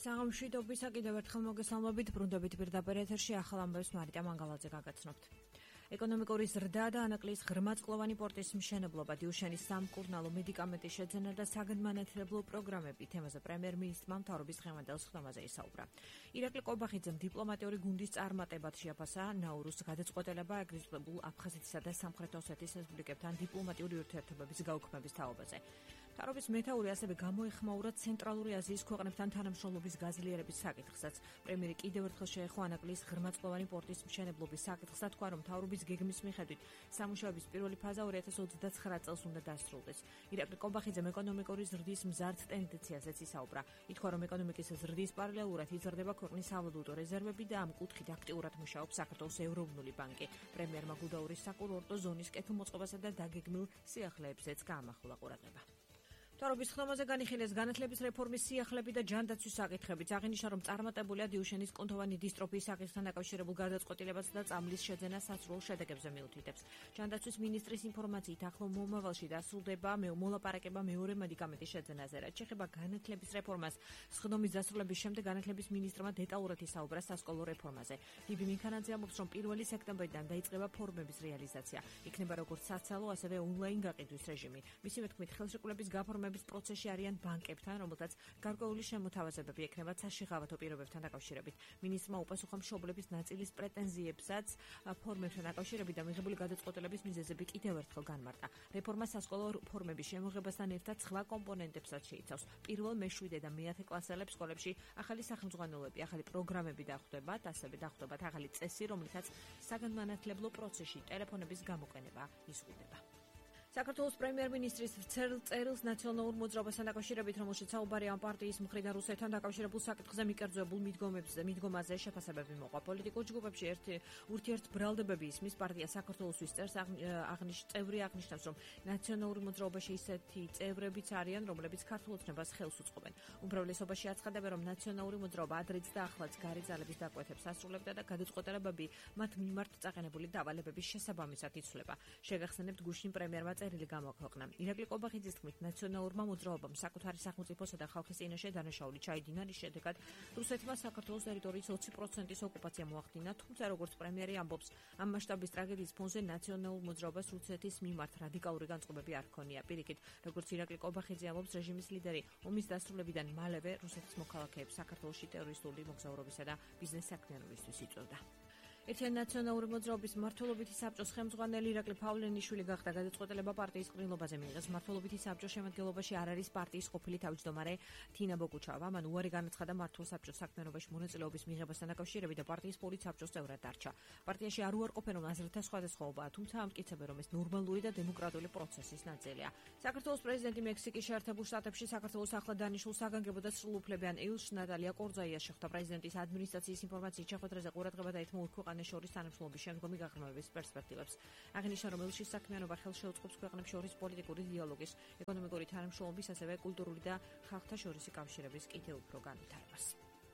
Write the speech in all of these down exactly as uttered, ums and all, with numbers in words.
საღამოშვიდობისა კიდევ ერთხელ მოგესალმებით, ბრუნდებით პირდაპირ ეთერში ახალ ამბებს მარიტა მანგალაძე გაგაცნობთ. ეკონომიკური ზრდა და ანაკლიის ღრმაწლოვანი პორტის მშენებლობა, დიუშენის სამკურნალო მედიკამენტის შეძენა და საგანმანათლებლო პროგრამები თემაზე პრემიერ-მინისტრმა მთავრობის დღევანდელ სხდომაზე ისაუბრა. ირაკლი ყობახიძემ დიპლომატიური გუნდის წარმატებად შეაფასა ნაურუს გადაწყვეტილება ეგრისებულ აფხაზეთისა და სამხრეთ ოსეთის რესპუბლიკებთან დიპლომატიური ურთიერთობების გაუქმების თაობაზე. მთავრობის მეთაური ასევე გამოეხმაურა ცენტრალური აზიის ქვეყნებთან თანამშრომლობის გაზლიერების საკითხსაც. პრემიერი კიდევ ერთხელ შეეხო ანაკლიის ღრმაწლოვანი პორტის მშენებლობის საკითხს და თქვა, რომ მთავრობის გეგმის მიხედვით სამუშაოების პირველი ფაზა ორი ათას ოცდაცხრა წელს უნდა დასრულდეს. ირაკლი ყობახიძემ ეკონომიკური ზრდის მზარდ ტენდენციაზეც ისაუბრა. ითქვა, რომ ეკონომიკის ზრდის პარალელურად იზრდება ქვეყნის სავალუტო რეზერვები და ამ კუთხით აქტიურად მუშაობს საქართველოს ეროვნული ბანკი. პრემიერმა გუდაურის საკურორტო ზონის კეთილმოწყობასა და დაგეგმილ სიახლეებზეც გაამახვილა ყურადღება. მთავრობის ხდომაზე განიხილეს განათლების რეფორმის სიახლეები და ჯანდაცვის საკითხებიც. აღინიშნა, რომ წარმატებულია დიუშენის კუნთოვანი დისტროფიის საკითხთან დაკავშირებულ გადაწყვეტილებაც და წამლის შეძენა სასრულ შედეგებზე მიუთითებს. ჯანდაცვის მინისტრის ინფორმაციით, ახლო მომავალში დასრულდება მოლაპარაკება მეორე მედიკამენტის შეძენაზე. რაც შეეხება განათლების რეფორმას, სხდომის დასრულების შემდეგ განათლების მინისტრმა დეტალურად ისაუბრა სასკოლო რეფორმაზე. ბიბი მიქანაძე ამბობს, რომ პირველი სექტემბრიდან დაიწყება ფორმების რეალიზაცია. იქნება როგორც საცალო, ასევე ონლაინ გაყიდვის რეჟიმი. მისივე თქმით, ხელშეკრულების გაფორმება პროცესში არიან ბანკებთან, რომელთაც გარკვეული შემოთავაზებები ექნებათ საშიღავათო პირობებთან დაკავშირებით. მინისტრმა უპასუხა მშობლების ნაწილის პრეტენზიებსაც ფორმებთან დაკავშირებით და მიღებული გადაწყვეტილების მიზეზები კიდევ ერთხელ განმარტა. რეფორმა სასკოლო ფორმების შემოღებასთან ერთად სხვა კომპონენტებსაც შეიცავს. პირველ, მეშვიდე და მეათე კლასელებს სკოლებში ახალი სახელმძღვანელოები, ახალი პროგრამები დახვდებათ, ასევე დახვდებათ ახალი წესი, რომლითაც საგანმანათლებლო პროცესში ტელეფონების გამოყენება იზღუდება. საქართველოს პრემიერ-მინისტრის წერილს ნაციონალურ მოძრაობასთან დაკავშირებით, რომელშიც საუბარია ამ პარტიის მხრიდან რუსეთთან დაკავშირებულ საკითხზე მიკერძოებულ მიდგომებზე, მიდგომაზე შეფასებები მოყვა. პოლიტიკურ ჯგუფებში ერთი ურთიერთბრალდებები ისმის პარტია საქართველოსთვის წერს აღნიშ წევრი აღნიშნავს, რომ ნაციონალური მოძრაობაში ისეთი წევრებიც არიან, რომლებიც ქართულ ოცნებას ხელს უწყობენ. უმრავლესობაში აცხადებენ, რომ ნაციონალური მოძრაობა ადრეც და ახლაც გარი ძალების დაკვეთებს ასრულებდა და გადაწყვეტილებები მათ მიმართ წაყენებული დავალებების შესაბამისად იცვლება. შეგახსენებთ, გუშინ პრემიერმა წერილი გამოაქვეყნა. ირაკლი ყობახიძის თქმით, ნაციონალურმა მოძრაობამ საკუთარი სახელმწიფოსა და ხალხის წინაშე დანაშაული ჩაიდინა, რის შედეგად რუსეთმა საქართველოს ტერიტორიის ოცი პროცენტის ოკუპაცია მოახდინა, თუმცა როგორც პრემიერი ამბობს, ამ მასშტაბის ტრაგედიის ფონზე ნაციონალურ მოძრაობას რუსეთის მიმართ რადიკალური განწყობები არ ჰქონია. პირიქით, როგორც ირაკლი ყობახიძე ამბობს, რეჟიმის ლიდერი ომის დასრულებიდან მალევე რუსეთის მოქალაქეებს საქართველოში ტერორისტული მოგზაურობისა და ბიზნეს საქმიანობისთვის იწვევდა. ერთიანი ნაციონალური მოძრაობის მმართველობითი საბჭოს ხელმძღვანელი ირაკლი ფავლენიშვილი გახდა. გადაწყვეტილება პარტიის ყრილობაზე მიიღეს. მმართველობითი საბჭოს შემადგენლობაში არ არის პარტიის ყოფილი თავმჯდომარე თინა ბოკუჩავა. მან უარი განაცხადა მმართველ საბჭოს საქმიანობაში მონაწილეობის მიღებასთან დაკავშირებით და პარტიის პოლიტსაბჭოს წევრად დარჩა. პარტიაში არ უარყოფენ, რომ აზრთა სხვადასხვაობაა, თუმცა ამტკიცებენ, რომ ეს ნორმალური და დემოკრატიული პროცესის ნაწილია. საქართველოს პრეზიდენტი მექსიკის შეერთებულ შტატებში საქართველოს ახლად დანიშნულ საგანგებო და სრულუფლებიან ელჩს ნატალია კორზაიას შეხვდა. პრეზიდენტის ადმინისტრაციის ინფორმაციით შეხვედრაზე ყურადღება დაეთმო ორ ქვეყანას შორის თანამშრომლობის შემდგომი გაღრმავების პერსპექტივებს. აღნიშნა, რომ ელჩის საქმიანობა ხელს შეუწყობს ქვეყნებს შორის პოლიტიკური დიალოგის, ეკონომიკური თანამშრომლობის, ასევე კულტურული და ხალხთა შორისი კავშირების კიდევ უფრო განვითარებას.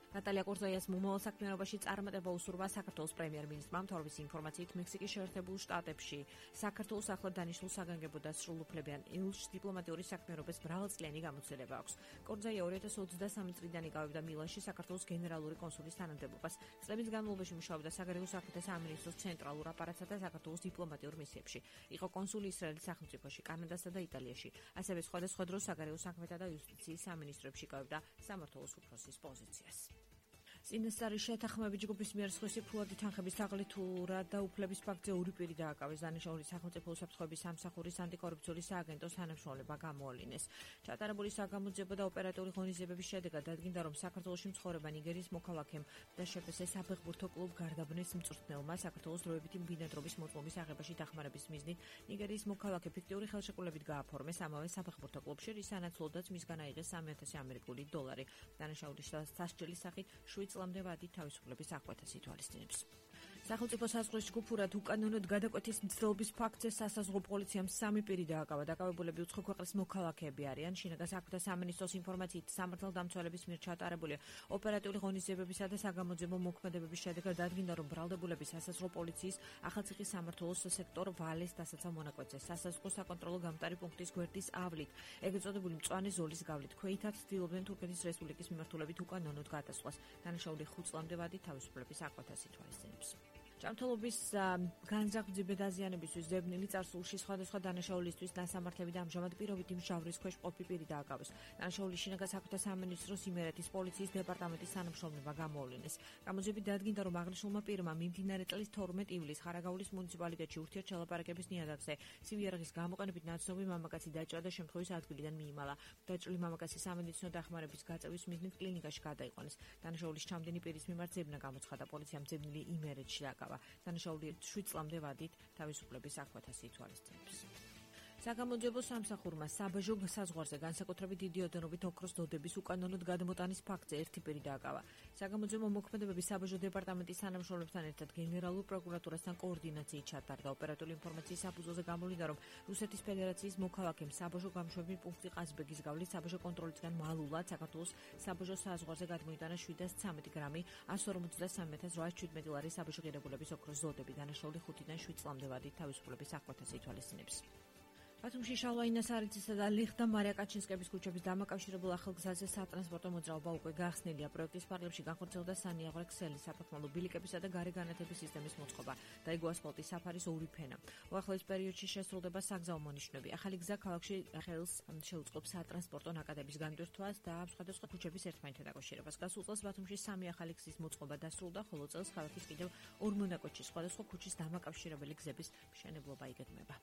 ნატალია კორზაიას მომავალ საქმიანობაში წარმატება უსურვა საქართველოს პრემიერ-მინისტრმა. მთავრობის ინფორმაციით, მექსიკის შეერთებულ შტატებში საქართველოს ახლად დანიშნულ საგანგებო და სრულუფლებიან ელჩს დიპლომატიური საქმიანობის მრავალწლიანი გამოცდილება აქვს. კორზაია ორი ათას ოცდასამი წლიდან იკავებდა მილანში საქართველოს გენერალური კონსულის თანამდებობას. წლების განმავლობაში მუშაობდა საგარეო საქმეთა სამინისტროს ცენტრალურ აპარატსა და საქართველოს დიპლომატიურ მისიებში. იყო კონსული ისრაელის სახელმწიფოში, კანადასა და იტალიაში. ასევე სხვადასხვა დროს საგარეო საქმეთა და იუსტიციის სამინისტროებში იკავებდა სამმართველოს უფროსის პოზიციას. წინასწარი შეთანხმების ჯგუფის მიერ სხვისი ფულადი თანხების თაღლითურად და უფლების ფაქტზე ორი პირი დააკავეს. დანიშნული სახელმწიფო უსაფრთხოების სამსახურის ანტიკორუფციული სააგენტოს თანამშრომლობა გამოავლინეს. ჩატარებული საგამოძიებო და ოპერატიული ღონისძიებების შედეგად დადგინდა, რომ საქართველოში მცხოვრება ნიგერიის მოქალაქემ და შეფესე საფეხბურთო კლუბ გარდაბნეს მწვრთნელმა საქართველოს დროებითი ბინადრობის მოწმობის აღებაში დახმარების მიზნით ნიგერიის მოქალაქე ფიქტიური ხელშეკრულებით გააფორმეს ამავე საფეხბურთო კლუბში, რის სანაცვლოდაც მისგან აიღეს სამი ათასი ამერიკული დოლარი. დანაშაულის სასჯელის სახით შვიდ წლამდე ვადით თავისუფლების აღკვეთას ითვალისწინებს. სახელმწიფო საზღვრის ჯგუფურად უკანონოდ გადაკვეთის მცდელობის ფაქტზე სასაზღვრო პოლიციამ სამი პირი დააკავა. დაკავებულები უცხო ქვეყნის მოქალაქეები არიან. შინაგან საქმეთა სამინისტროს ინფორმაციით სამართალდამცველების მიერ ჩატარებული ოპერატიული ღონისძიებებისა და საგამოძიებო მოქმედებების შედეგად დადგინდა, რომ ბრალდებულები სასაზღვრო პოლიციის ახალციხის სამმართველოს სექტორ ვალეს დასაცავ მონაკვეთზე სასაზღვრო საკონტროლო გამტარი პუნქტის გვერდის ავლით, ეგრეთ წოდებული მწვანე ზოლის გავლით, ქვეითად ცდილობდნენ თურქეთის რესპუბლიკის მიმართულებით უკანონოდ გადასვლას. დანაშაული ხუთ წლამდე ვადით თავისუფლების აკვეთას ითვალისწინებს. ჯანმრთელობის განზრახ-მძიმე დაზიანებისთვის ზებნილი წარსულში სხვადასხვა დანაშაულისთვის დასამართლები და ამჟამად პირობით იმჟავრის ქვეშ მყოფი პირი დააკავეს. დანაშაული შინაგან საქმეთა სამინისტროს იმერეთის პოლიციის დეპარტამენტის თანამშრომლობა გამოავლინეს. გამოძიებით დადგინდა, რომ აღნიშნულმა პირმა მიმდინარე წლის თორმეტ ივლისს ხარაგაულის მუნიციპალიტეტში ურთიერთშელაპარაკების ნიადაგზე სივიარაღის გამოყენებით ნაცნობი მამაკაცი დაჭრა და შემთხვევის ადგილიდან მიიმალა. დაჭრილი მამაკაცი სამედიცინო დახმარების გაწევის მიზნით კლინიკაში გადაიყვანეს. დანაშაულის ჩამდენი პირის მიმართ ზებნა გამოცხადა. პოლიციამ ზებნილი იმერეთში დააკავა. დანაშაული შვიდ წლამდე ვადით თავისუფლების აკვეთას ითვალისწინებს. საგამოძიებო სამსახურმა საბაჟო საზღვარზე განსაკუთრებით დიდი ოდენობით ოქროს დოდების უკანონოდ გადმოტანის ფაქტზე ერთი პირი დააკავა. საგამოძიებო მოქმედებების საბაჟო დეპარტამენტის თანამშრომლებთან ერთად გენერალურ პროკურატურასთან კოორდინაციით ჩატარდა. ოპერატიული ინფორმაციის საფუძველზე გამოვლინდა, რომ რუსეთის ფედერაციის მოქალაქემ საბაჟო გამოშვების პუნქტი ყაზბეგის გავლით საბაჟო კონტროლისგან მალულად საქართველოს საბაჟო საზღვარზე გადმოიტანა შვიდას ცამეტი გრამი ასი ორმოცდასამი ათას რვაას შვიდმეტი ლარის საბაჟო ღირებულების ოქროს დოდები. დანაშაული ხუთიდან შვიდ წლამდე ვადით თავისუფლების აკვეთას ითვალისწინებს. ბათუმში შალვაინას არიცისა და ლიხ და მარია კაჩინსკების ქუჩების დამაკავშირებულ ახალგზაზე სატრანსპორტო მოძრაობა უკვე გახსნილია. პროექტის ფარგლებში განხორციელდა სანიაღვრე ქსელი, საფეხმავლო ბილიკებისა და გარე განათების სისტემის მოწყობა. დაიგო ასფალტის საფარის ორი ფენა. უახლოეს პერიოდში შესრულდება საგზაო მონიშნები. ახალი გზა ქალაქში ხელს შეუწყობს სატრანსპორტო ნაკადების განვირთვას და სხვადასხვა ქუჩების ერთმანეთთან დაკავშირებას. გასულ წელს ბათუმში სამი ახალი გზის მოწყობა დასრულდა, ხოლო წელს ქალაქის კიდევ ორ მონაკვეთში სხვადასხვა ქუჩის დამაკავშირებელი გზების მშენებლობა იგეგმება.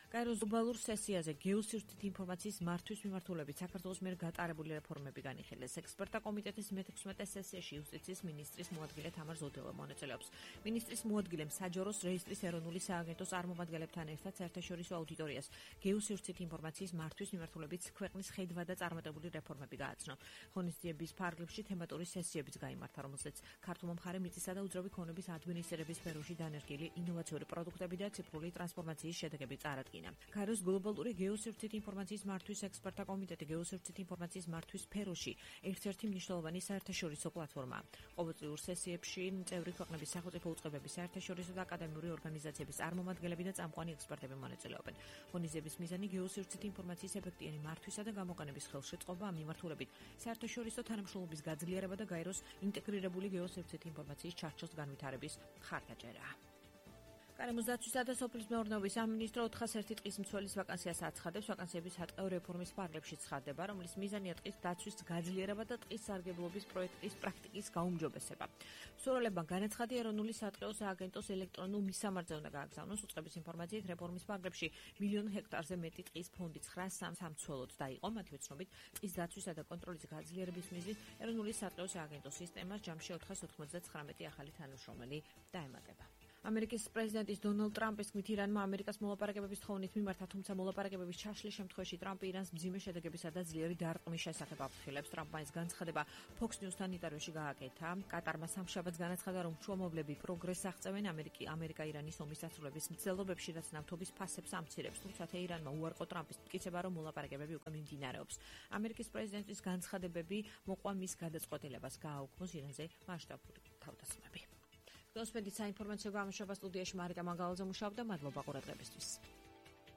კაიროს გლობალურ სესიაზე გეოსივრცით ინფორმაციის მართვის მიმართულებით საქართველოს მიერ გატარებული რეფორმები განიხილეს. ექსპერტთა კომიტეტის მეთექვსმეტე სესიაში იუსტიციის მინისტრის მოადგილე თამარ ზოდელო მონაწილეობს. მინისტრის მოადგილემ საჯაროს რეესტრის ეროვნული სააგენტოს წარმომადგენლებთან ერთად საერთაშორისო აუდიტორიას გეოსივრცით ინფორმაციის მართვის მიმართულებით ქვეყნის ხედვა და წარმატებული რეფორმები გააცნო. ღონისძიების ფარგლებში თემატური სესიებიც გაიმართა, რომელზეც ქართულმა მხარემ მიწისა და უძრავი ქონების ადმინისტრირების სფეროში დანერგილი ინოვაციური პროდუქტები და ციფრული ტრანსფორმაციის შედეგები წარადგინა. კაიროს გლობალური გეოსივრცით ინფორმაციის მართვის ექსპერტთა კომიტეტი გეოსივრცით ინფორმაციის მართვის სფეროში ერთ-ერთი მნიშვნელოვანი საერთაშორისო პლატფორმაა. ყოველწლიურ სესიებში წევრი ქვეყნების სახელმწიფო უწყებების საერთაშორისო და აკადემიური ორგანიზაციების წარმომადგენლები და წამყვანი ექსპერტები მონაწილეობენ. ღონისძიების მიზანი გეოსივრცით ინფორმაციის ეფექტიანი მართვისა და გამოყენების ხელშეწყობა ამ მიმართულებით საერთაშორისო თანამშრომლობის გაძლიერება და კაიროს ინტეგრირებული გეოსივრცით ინფორმაციის ჩარჩოს განვითარების მხარდაჭერაა. კანემოს დაცვისა და სოფლის მეურნეობის სამინისტრო ოთხას ერთი ტყის მცველის ვაკანსიას აცხადებს. ვაკანსიების ატყეო რეფორმის ფარგლებში ცხადდება, რომლის მიზანია ტყის დაცვის გაძლიერება და ტყის სარგებლობის პროექტის პრაქტიკის გაუმჯობესება. მსურველებმა განაცხადა ეროვნული სატყეო სააგენტოს ელექტრონულ მისამართზე უნდა გააგზავნოს. უწყების ინფორმაციით რეფორმის ფარგლებში მილიონ ჰექტარზე მეტი ტყის ფონდი ცხრა სამცველოდ დაიყო. მათივე ცნობით, ტყის დაცვისა და კონტროლის გაძლიერების მიზნით ეროვნული სატყეო სააგენტოს სისტემას ჯამში ოთხას ოთხმოცდათხრამეტი ახალი თანამშრომელი დაემატება. ამერიკის პრეზიდენტის დონალდ ტრამპის თქმით, ირანმა ამერიკას მოლაპარაკებების თხოვნით მიმართა, თუმცა მოლაპარაკებების ჩაშლის შემთხვევაში ტრამპი ირანს მძიმე შედეგებისა და ძლიერი დარტყმის შესახებ აფრთხილებს. ტრამპმა ეს განცხადება Fox News-თან ინტერვიუში გააკეთა. კატარმა სამშაბათს განაცხადა, რომ შუამავლები პროგრესს აღწევენ ამერიკა-ირანის ომის დასრულების მცდელობებში, რაც ნავთობის ფასებს ამცირებს. თუმცა თეირანმა უარყო ტრამპის მტკიცება, რომ მოლაპარაკებები უკვე მიმდინარეობს. ამერიკის პრეზიდენტის განცხადებები მოყვა მის გადაწყვეტილებას გააუქმოს ირანზე მასშტაბური თავდასხმები. გოსპედით საინფორმაციო გამოშვება სტუდიაში მარიკა მანგალაძე მუშაობდა. მადლობა ყურადღებისთვის.